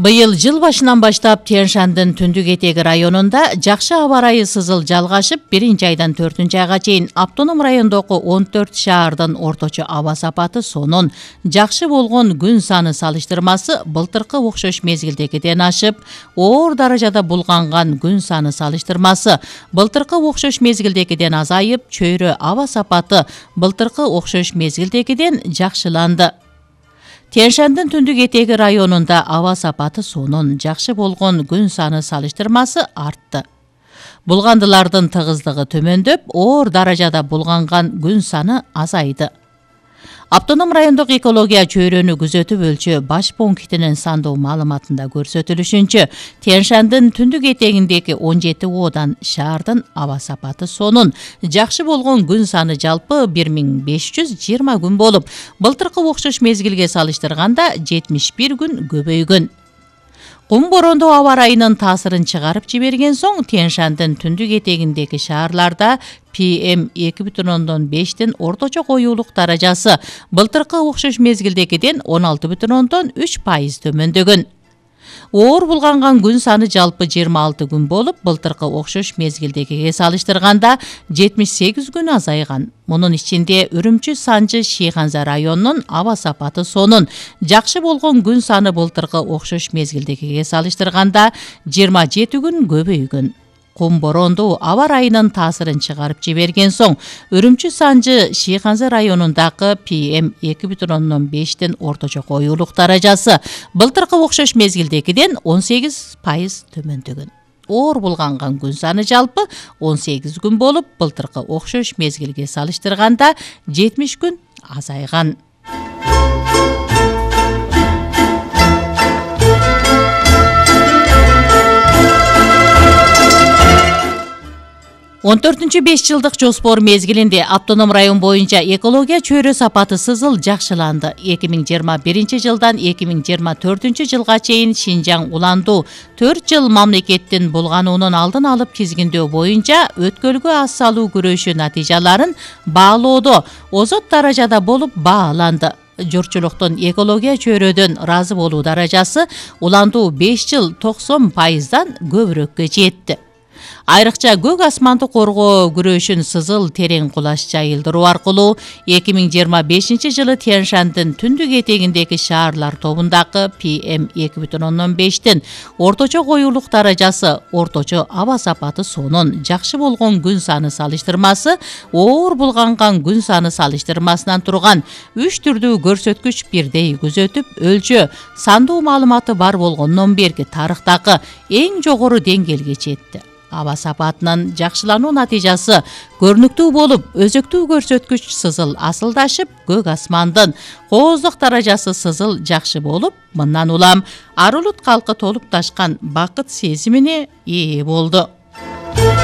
Быйыл жыл башынан баштап Тянь-Шандын түндүк этеги районунда жакшы аба ырайы сызыл жалгашып, 1-айдан 4-айга чейин автоном райондогу 14 шаардын орточо аба сапаты сонун жакшы болгон күн саны салыштырмасы былтыркы окшош мезгилдегиден ашып, оор даражада булганган күн саны салыштырмасы былтыркы окшош мезгилдегиден азайып, чөйрө аба сапаты былтыркы окшош мезгилдегиден жакшыланды. Тянь-Шандын түндүк этеги районунда аба сапаты сонун жакшы болгон күн саны салыштырмасы артты. Булгандылардын тыгыздыгы төмөндөп, оор даражада булганган күн саны азайды. Автоном райондук экология чөйрөнү күзөтүп өлчөө баш пунктинин сандуу маалыматында көрсөтүлүшүнчө, Тянь-Шандын түндүк этегиндеги 17 оодан шаардын аба сапаты сонун жакшы болгон күн саны жалпы 1520 күн болуп, былтыркы окшош мезгилге салыштырганда 71 күн көбөйгөн. Кум борондоо аба ырайынын таасырын чыгарып жиберген соң, Тянь-Шандын түндүк этегиндеги шаарларда PM2,5 орточо коюулук даражасы былтыркы окшош мезгилдегиден 16,3% төмөндөгөн. Оор булганган күн саны жалпы 26 күн болуп, былтыркы окшош мезгилдегиге салыштырганда 78 күн азайган. Мунун ичинде Үрүмчү, Санжы, Шыйханза районунун аба сапаты сонун жакшы болгон күн саны былтыркы окшош мезгилдегиге салыштырганда 27 күн көбөйгөн. Кум борондуу аба ырайынын таасырын чыгарып жиберген соң, Үрүмчү, Санжы, Шыйханза районундагы PM2,5 орточо коюулук даражасы былтыркы окшош мезгилдегиден 18% төмөндөгөн. Оор булганган күн саны жалпы 18 күн болуп, былтыркы окшош мезгилге салыштырганда 70 күн азайган. 14-5 жылдык жоспор мезгилинде автоном район боюнча экология чөйрө сапаты сызыл жакшыланды. 2021 жылдан 2024 жылга чейин Шинжаң уландуу 4 жыл мамлекеттин булгануунун алдын алып тизгиндөө боюнча өткөлгө аз салуу күрөшү натыйжаларын баалоодо озот даражада болуп бааланды. Журтчулуктун экология чөйрөдөн ыраазы болуу даражасы уландуу 5 жыл 90%дан көбүрөккө жетти. Айрыкча көк асманды коргоо күрөшүн сызыл терең кулаш жайылдыруу аркылуу 2025 жылы Тянь-Шандын түндүк этегиндеги шаарлар тобундагы PM2,5 орточо коюулук даражасы, орточо аба сапаты сонун жакшы болгон күн саны салыштырмасы оор булганган күн саны салыштырмасынан турган 3 түрдүү көрсөткүч бирдей күзөтүп өлчөө сандуу маалыматы бар болгондон берки тарыхтагы эң жогору деңгээлге жетти. Аба сапатынын жакшылануу натыйжасы көрүнүктүү болуп, өзөктүү көрсөткүч сызыл асылдашып, көк асмандын кооздук даражасы сызыл жакшы болуп, мындан улам ар улут калкы толуп ташкан бакыт сезимине ээ болду.